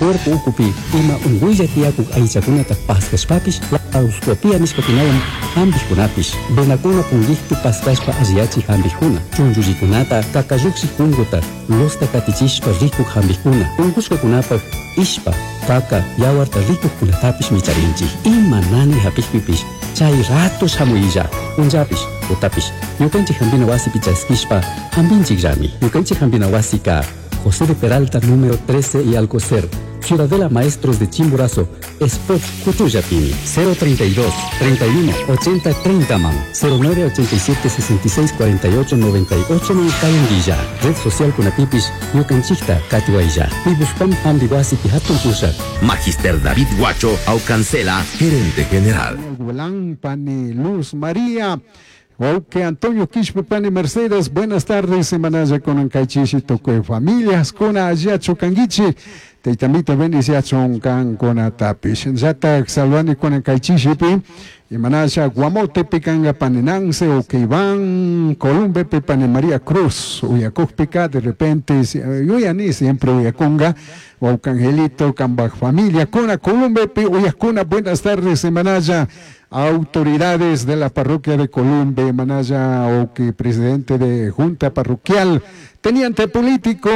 Cuerpo ukupi ima unguylla tiyakuk aychakunata paskashpapish, laparoscopia nishkakunawan hampikkunapish, venakuna pungikpi paskashpa alliyachik hampikkuna, chunchullikunata, kakallukshik punguta, losta katichishpa rikuk hampikkuna, unkushkakunapak ishpa, kaka, yawarta rikukkunatapish micharinchik. Ima nani hapikpipish chay rato shamuylla, punllapish, tutapish, ñukanchik hampina wasipi chaskishpa hampinchikllami. Ñukanchik hampina wasika José de Peralta, número 13 y Alcocer, Ciudadela Maestros de Chimborazo, Sport Cuchuyapini, 032 31 80 30 man, 09 87 66 48 98 man Kayandilla, Red Social Kunapipish, Ñukanchikta Katiwaylla, Pibuspam Hambiwasi Hatun Pushak. Magister David Guacho Aucancela, gerente general. Guelán, Pani Luz María. Ok, Antonio Quispe, Pani Mercedes, buenas tardes, semanalla con Ancaichishi, toque familias, con Ayacho Canguichi, Teitamita bendiciachon can con Atapish. Yata salvani con Ancaichishi, y manalla Guamote, Picanga, Paninance, ok, Iván, Columbe, Pane María Cruz, Uyacojpica, de repente, yo ya ni siempre Uyaconga, Angelito, Cambaj familia, Cona, Columbe, Uyacona, buenas tardes, semanalla autoridades de la parroquia de Columbe, Manaya, o presidente de junta parroquial, teniente político,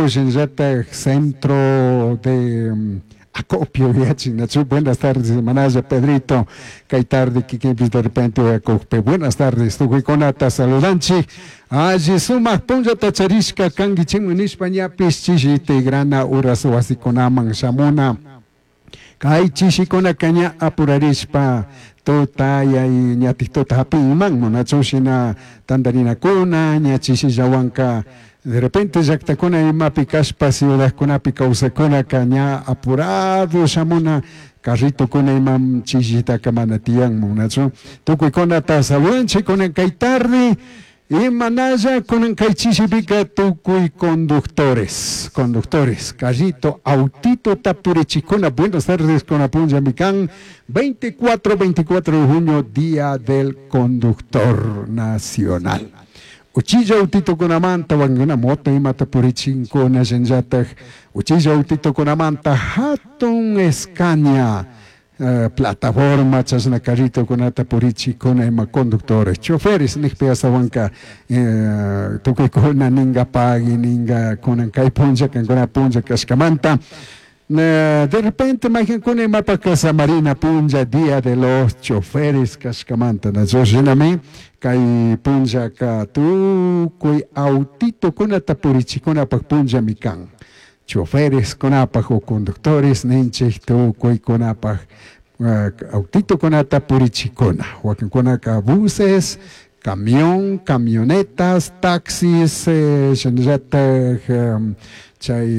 Shenjata, centro de acopio, buenas tardes, Manaya, Pedrito, Caitarde, Kikipis, de repente, Acope, buenas tardes, Tujiconata, saludanchi, Allí suma, punlla tacharishka, kangi chinguinishpa, ñapis, chishi, grana, uras, wasikunaman, shamuna, kay chishikuna caña apurarishpa, tuta y ñatik tuta hapinman munachushina tantarinakuna ñachishillawanka de repente llaktakuna imapi kashpa ciudadkunapi kawsakunaka ña apurado shamuna carritokuna imam chishitaka mana tiyanmun nachu tukuykunata saludanchik kunan kay tarde Imanalla kunan kay chishipika tukuy conductores, conductores, carrito, autito tapurichikuna, buenas tardes con apunja mikan, 24 de junio, Día del Conductor Nacional. Uchilla autito kunamanta, wanguna moto imata purichinkuna, shenllataj, uchilla autito kunamanta, hatun Scania, plataforma chashna carrito kunata purichikuna ima conductores, choferes nijpi astawanka tukuykuna ninga pagui ninga kunan kay punlla kankuna punlla kashkamanta. De repente mayqankuna imapaq samarina punlla día de los choferes kashkamanta nachu shinami kay punllaka tukuy autito kunata purichikunapak punllami kan. Choferes kunapaj o conductores ninchik tukuy kunapaj autito kunata purichikuna wakinkunaka buses, camión, camionetas, taxis, shinallataj chay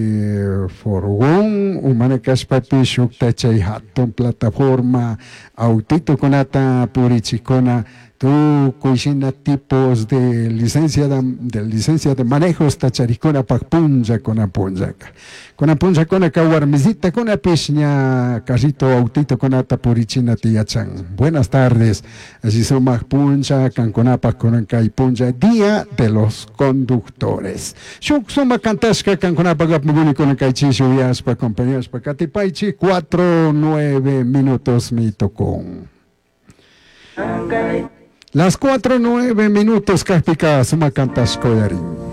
furgón, umana kashpapish shukta chay hatun plataforma autito kunata purichikuna tukuy shina tipos de licencia de licencia de manejo tacharikuna pak punlla kuna punllaka. Kuna punlla kuna ka warmisita kuna pish ña carrito autito kunata purichina tiyachan. Buenas tardes. Así sumaq punlla kankunapak kunan kay punlla día de los conductores. Shuk sumaq kantashka kankunapak apmuguni kunan kay chishi uyashpa acompañashpa katipaychi 4:09 minutos mi tocón. Las 4:09 minutos, Kajpika, suma kantashko yarin.